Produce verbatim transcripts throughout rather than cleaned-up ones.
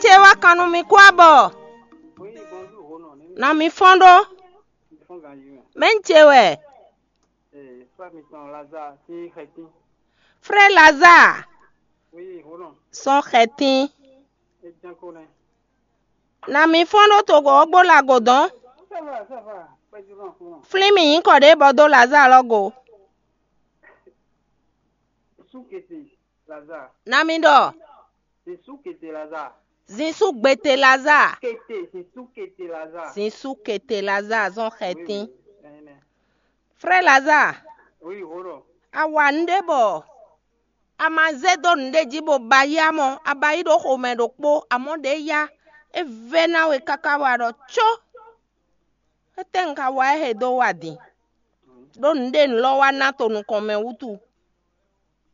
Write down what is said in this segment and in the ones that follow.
Ce wá kan nú mi kú abɔ. Na mi fɔ́n ɖó. Mɛ̌ un ce wɛ? Frɛ Lazaa. Sɔ́ xɛtín. Na mi fɔ́n ɖó togo ɔ́ gbó lago dɔn. Flín mì nyǐkɔ ɖě bɔ dó Lazaa lɔ go. Na mi ɖɔ. Zinsú gbete Lazaa. Zinsú kete Lazaa zɔn xɛtín. Frɛ Lazaa. A wa nǔɖé bɔ a ma zé dó nǔɖé jí bó ba yá mɔ, a ba yí ɖó xomɛ ɖokpó, amɔ̌ ɖě yá é vɛ́ ná we káká wá ɖɔ có. Étɛ́ un ka wa ɛ he dó wa din? Ɖó nǔɖé un lɔ wá ná to nukɔn mɛ wútu.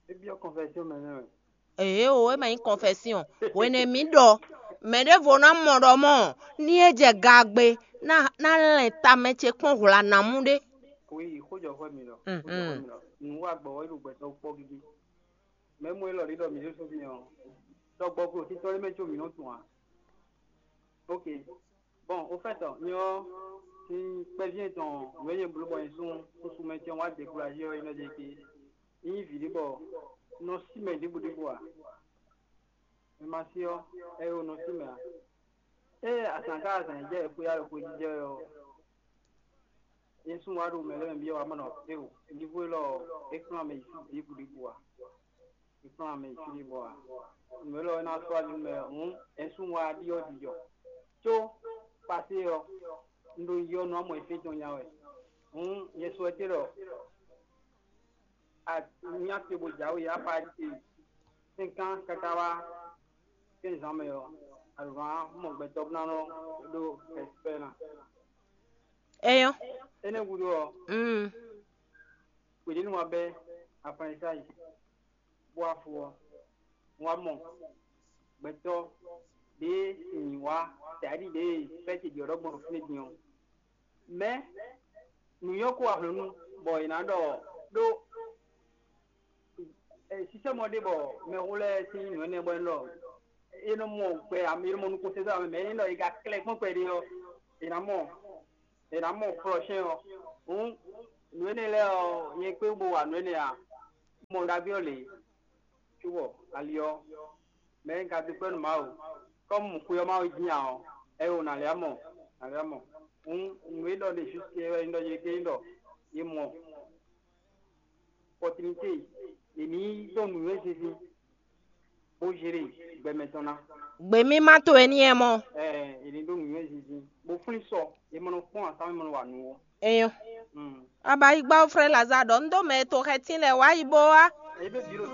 É byɔ́ confession mɛ nɛ́ wɛ. Ee o, é ma nyí confession. Hwene mǐ ɖɔ mɛ ɖěvo ná mɔ ɖɔ mɔ ní é jɛ ga gbe ná ná lɛn tamɛ ce kpɔ́n hwla ná mú ɖé. Xó yi xó jɔ xwɛ mi lɔ. Mhm. Xó jɔ xwɛ mi lɔ. Nǔ wa gbɔ wɛ ɖo gbɛtɔ́ kpɔ́ gígí. Mɛ mɔ élɔ́ ɖi ɖɔ mǐ ɖésú mi ɔ́, tɔgbɔ klo títɔ́ lé mɛ có mǐ nɔ tunwun ǎ. Ok. Bon, au fait, ɔ́, nyɛ ɔ́, sin kpɛví tɔn nǔ e nyɛ bló bɔ nyɛ sún susu mɛ tɛn wá découragé ɔ́, é nɔ ɖe ke. É nyí vǐ ɖé bɔ un nɔ sí mɛ ɖěbǔ ɖěbǔ ǎ. Mɛ ma sí ɔ́, ɛ o nɔ sí mɛ ǎ. Ée azǎn ká azǎn e jɛ xwé alɔ xwé jijɛ ɔ́, nyɛ sún wá ɖo mɛ lɛ́ɛ mɛ byɔ́ wá mɔ nɔ é o. Nívo élɔ́ ɔ́, é kplɔ́n mɛ yi sí ɖěbǔ ɖěbǔ ǎ. È kplɔ́n ame yi fí ɖé bɔ a nǔ élɔ́ ɔ́ ná sɔ́ ali nú mɛ hǔn, ɛ́súnnu wá ɖíɔ́ jijɔ. Có pasé ɔ́, un ɖo yi ɔ́ nú amɔ efé tɔn nya wɛ. Hǔn nyɛ sɔ́ ɛtɛ́ ɖɔ a nyá te bó jǎwe yi apa te sɛ́nkán káká wá kɛ́nzán mɛ ɔ́, alǒ ná mɔ gbɛtɔ́ bó ná nɔ ɖó ɛspɛ́ ná. Eyɔ́. Énɛ́ gúdo ɔ́, Mm. Kpěɖénu wá bɛ́ Aflanyisá yi, bó wá fo ɔ́, un wá mɔ gbɛtɔ́ ɖě nyi wá tɛ̌ɖi ɖě fɛ́ ce ɖiɔ̌ɖɔ gbɔn ɖo fínɛ́ din ɔ́. Mɛ̌ nǔnywɛ́ kó wá hlɔ̌nnu bɔ è nǎ ɖɔ ɖó sísɛ́ mɔ ɖé bɔ mɛxó lɛ́ɛ sín nǔ énɛ́ bɔ é ɖɔ é nɔ mɔ gbɛ ame é nɔ mɔ nukúnsin dó ame mɛ é nɔ é ka klɛ́ kpɔ́n kpɛɖé ɔ́, è nǎ mɔ è nǎ mɔ flɔ́shɛ́n ɔ́. Hǔn nǔ énɛ́ lɛ́ɛ ɔ́, nyɛ kpé bo wa nǔ énɛ́ ǎ. Mɔ ɖagbe ɔ́ lě, cóbɔ ali ɔ́, mɛ e ka dó kpɛ́ nú Mawu, kɔ́mu xwe ɔ́ Mawu dín ǎ ɔ́, ɛ o nǎ lɛ́ mɔ, nǎ lɛ́ mɔ. Hǔn nǔ e ɖɔ ɖe júske wɛ nyí ɖɔ yě ké nyí ɖɔ è mɔ opɔtinité, è ní dó nǔnywɛ́ zinzin bó zé ɖe gbɛ mɛtɔn ná. Gběmímá towe ní ɛ mɔ. Ɛɛ, è ní dó nǔnywɛ́ zinzin bó flín sɔ, è mɔ nɔ kpɔ́n asá mɛ mɔ nɔ wa nǔ ó. Eyɔ́. Mm. Abayigba frɛ Lazare ɖɔ un ɖó mɛ e to xɛtín lɛ́ɛ wá yi bó wá. Èyí bɛ bǐ ɖo